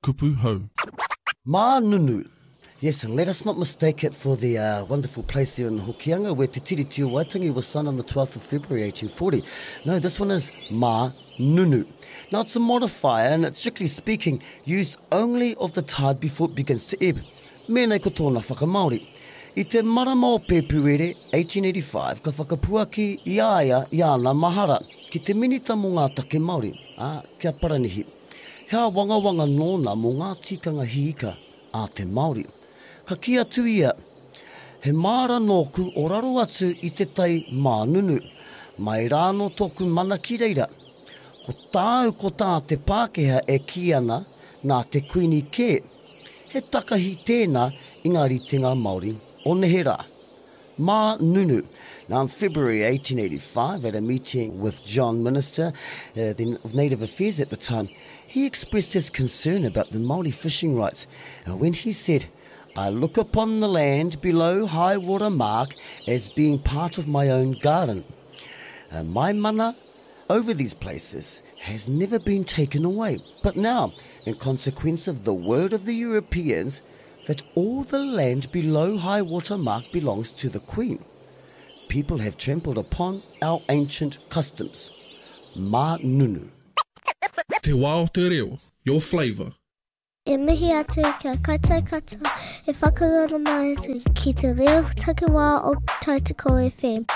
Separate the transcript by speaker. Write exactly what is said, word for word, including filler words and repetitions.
Speaker 1: Kupu Hou.
Speaker 2: Mānunu. Yes, and let us not mistake it for the uh, wonderful place there in Hokianga where Te Tiriti o Waitangi was signed on the twelfth of February eighteen forty. No, this one is Mānunu. Now, it's a modifier and it's strictly speaking used only of the tide before it begins to ebb. Mēnei ko tōna whakamāori. I te marama o Pēpuere eighteen eighty-five, ka whakapuaki i a ia i ana mahara ki te minita mō ngā take Māori, ā, kia Paranihi. He wangawanga nōna mō ngā tikanga hiika a te Māori. Ka ki atu ia, he māra nōku o raro atu i te tai mānunu, mai rāno tōku mana ki reira. Ko tāu ko tā te Pākehā e kī ana nā te Kuini kē, he takahi tēnā i ngā ritenga Māori o neherā. Mānunu. Now, in February eighteen eighty-five, at a meeting with John Minister, uh, the, of Native Affairs at the time, he expressed his concern about the Māori fishing rights uh, when he said, I look upon the land below high water mark as being part of my own garden. Uh, my mana over these places has never been taken away. But now, in consequence of the word of the Europeans, that all the land below high water mark belongs to the Queen, people have trampled upon our ancient customs. Mānunu.
Speaker 1: Te wā o te reo, your flavour.
Speaker 3: E mihi atu kia koutou katoa e whakarara mai atu ki te reo takiwā o Tautoko F M.